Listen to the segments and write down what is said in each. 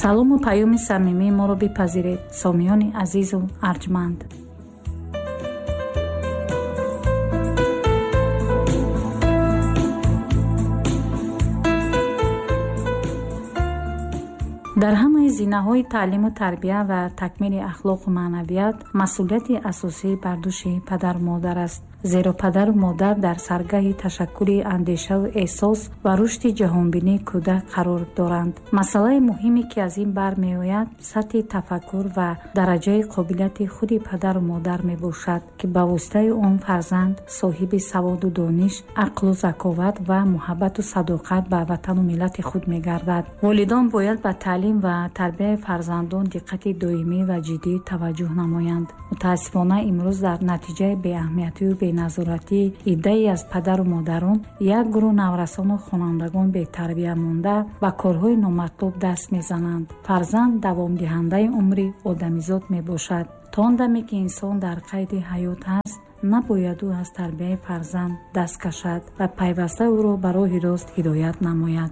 Салому паёми самимии моро бипазиред, сомиёни азизу арҷманд. Дар ҳамаи зинаҳои таълиму тарбия ва такмили ахлоқу маънавият масъулияти асосӣ бар дӯши падару модар аст. Зеро падару модар дар саргаҳи ташаккули андешаву эҳсос ва рушди ҷаҳонбинии кӯдак қарор доранд. Масъалаи муҳиме, ки аз ин бармеояд, сатҳи тафаккур ва дараҷаи қобилияти худи падару модар мебошад, ки ба воситаи он фарзанд соҳиби саводу дониш, ақлу заковат ва муҳаббату садоқат ба ватану миллати худ мегардад. Волидон бояд ба таълим ва тарбияи фарзандон диққати доимӣ ва ҷиддӣ таваҷҷӯҳ намоянд. Мутаассифона, имрӯз дар натиҷаи беаҳамиятию беназоратии иддае аз падару модарон як гурӯҳ наврасону хонандагон бетарбия монда ба корҳои номатлуб даст мезананд. Фарзанд давомдиҳандаи умри одамизод мебошад. То он даме ки инсон дар қайди ҳаёт ҳаст, набояд ӯ аз тарбияи фарзанд даст кашад ва пайваста ӯро ба роҳи рост ҳидоят намояд.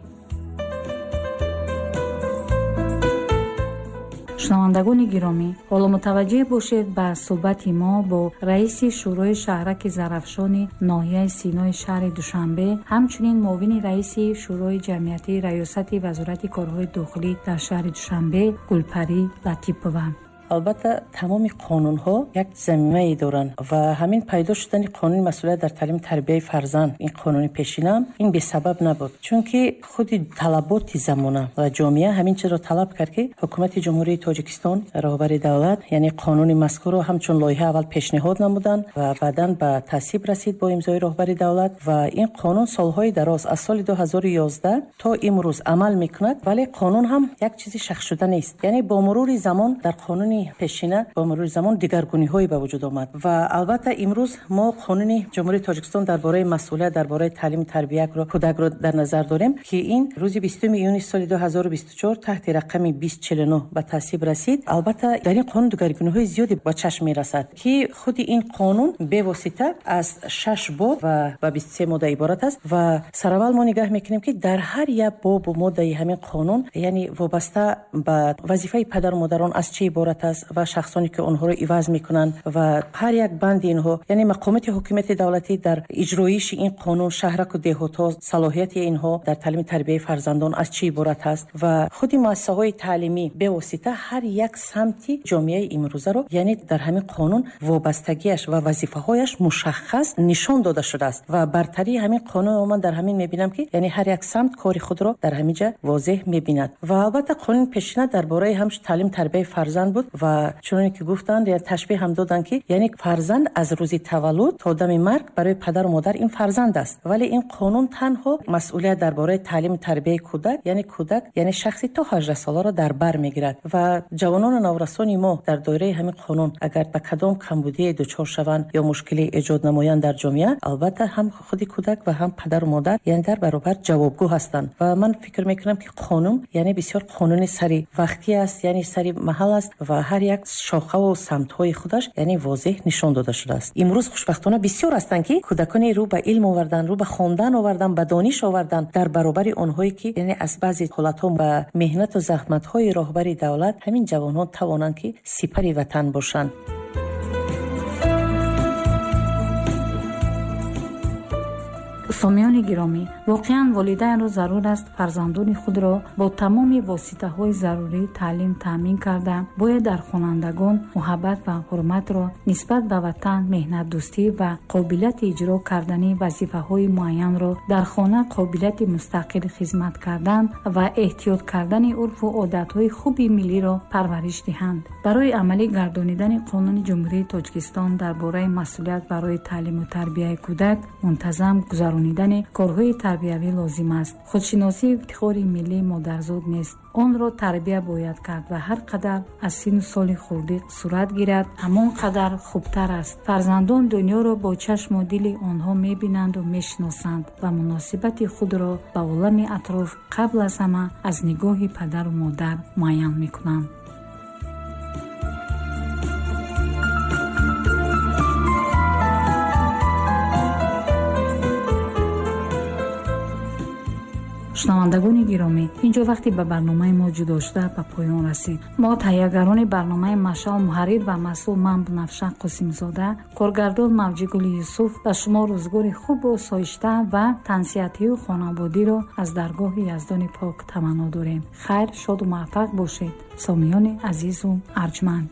Шунавандагони гиромӣ, ҳоло мутаваҷҷеҳ бошед ба суҳбати мо бо раиси Шӯрои шаҳраки Зарафшони ноҳияи Синои шаҳри Душанбе, ҳамчунин муовини раиси Шӯрои ҷамъиятии Раёсати Вазорати корҳои дохилӣ дар шаҳри Душанбе Гулпарӣ Латипова. Албатта, тамоми қонунҳо як замимае доранд ва ҳамин пайдо шудани қонуни масъулият дар таълиму тарбияи фарзанд, ин қонуни пешинам, ин бесабаб набуд, чунки худи талаботи замона ва ҷомеа ҳамин чизро талаб кард, ки ҳукумати Ҷумҳурии Тоҷикистон, роҳбари давлат, яъне қонуни мазкурро ҳамчун лоиҳа аввал пешниҳод намуданд ва баъдан ба тасвиб расид бо имзои роҳбари давлат. Ва ин қонун солҳои дароз аз соли 2011 то имрӯз амал мекунад, вале қонун ҳам як чизи шахсшуда нест, яъне бо мурури замон дар қонуни пешина бо мурури замон дигаргуниҳое ба вуҷуд омад. Ва албатта, имрӯз мо қонуни Ҷумҳурии Тоҷикистон дар бораи масъулият дар бораи таълиму тарбияро кӯдакро дар назар дорем, ки ин рӯзи 20 июни соли 2024 таҳти рақами 2049 ба тасвиб расид. Албатта, дар ин қонун дигаргуниҳои зиёде ба чашм мерасад, ки худи ин қонун бевосита аз 6 боб ва ба 23 модда иборат аст. Ва сараввал мо нигаҳ мекунем, ки дар ҳар як бобу моддаи ҳамин қонун, яъне вобаста ба вазифаи падару модарон аз чӣ иборат аст ва шахсоне ки онҳоро иваз мекунанд ва ҳар як банди инҳо, яъне мақомоти ҳокимияти давлатӣ дар иҷроиши ин қонун, шаҳраку деҳотҳо, салоҳияти инҳо дар таълими тарбияи фарзандон аз чӣ иборат аст ва худи муассисаҳои таълимӣ, бевосита ҳар як самти ҷомеаи имрӯзаро, яъне дар ҳамин қонун вобастагиаш ва вазифаҳояш мушаххас нишон дода шудааст. Ва бартарии ҳамин қонун ман дар ҳамин мебинам, ки яъне ҳар як самт кори худро дар ҳамин ҷа возеҳ мебинад. Ва албатта, қонуни пешина дар бораи ҳамчун таълим тарбияи фарзанд буд ва чуноне ки гуфтанд, я ташбеҳ ҳам доданд, ки яъне фарзанд аз рӯзи таваллуд то дами марг барои падару модар ин фарзанд аст. Вале ин қонун танҳо масъулият дар бораи таълиму тарбияи кӯдак, яъне кӯдак, яъне шахси то 18 соларо дар бар мегирад. Ва ҷавонону наврасони мо дар доираи ҳамин қонун агар ба кадом камбудие дучор шаванд ё мушкиле эҷод намоянд дар ҷомеа, албатта, ҳам худи кӯдак ва ҳам падару модар, яъне дар баробар ҷавобгӯ ҳастанд. Ва ман фикр мекунам, ки қонун, яъне бисёр қонуни сари вақтӣ аст, яъне сари маҳал аст ва ҳар як шохаву самтҳои худаш, яъне возеҳ нишон дода шудааст. Имрӯз хушбахтона бисёр ҳастанд, ки кӯдаконе рӯ ба илм овардан, рӯ ба хондан овардан, ба дониш овардан, дар баробари онҳое ки, яъне аз баъзе ҳолатҳо ба меҳнату заҳматҳои роҳбари давлат ҳамин ҷавонҳо тавонанд, ки сипари ватан бошанд. Сомиёни гиромӣ, воқеан волидайнро зарур аст фарзандони худро бо тамоми воситаҳои зарурӣ таълим таъмин карда, бояд дар хонандагон муҳаббат ва ҳурматро нисбат ба ватан, меҳнатдӯстӣ ва қобилияти иҷро кардани вазифаҳои муайянро дар хона, қобилияти мустақил хизмат кардан ва эҳтиёт кардани урфу одатҳои хуби миллиро парвариш диҳанд. Барои амалӣ гардонидани Қонуни Ҷумҳурии Тоҷикистон дар бораи масъулият барои таълиму тарбияи кӯдак мунтазам гузаронидани корҳои тарбиявӣ лозим аст. Худшиносии ифтихори миллӣ модарзод нест, онро тарбия бояд кард ва ҳар қадар аз синну соли хурдӣ сурат гирад, ҳамон қадар хубтар аст. Фарзандон дунёро бо чашму дили онҳо мебинанду мешиносанд ва муносибати худро ба олами атроф қабл аз ҳама аз нигоҳи падару модар муайян мекунанд. Шунавандагони гиромӣ, инҷо вақте ба барномаи мо ҷудо шуда ба поён расид. Мо таҳиягарони барномаи Машъал, муҳаррир ва масъул ман Бунафша Қосимзода, коргардон Мавҷигули Юсуф ба шумо рӯзгори хубу соишта ва тансиҳатию хонаводиро аз даргоҳи Яздони Пок таманно дорем. Хайр, шоду муваффақ бошед, сомиёни азизу арҷманд.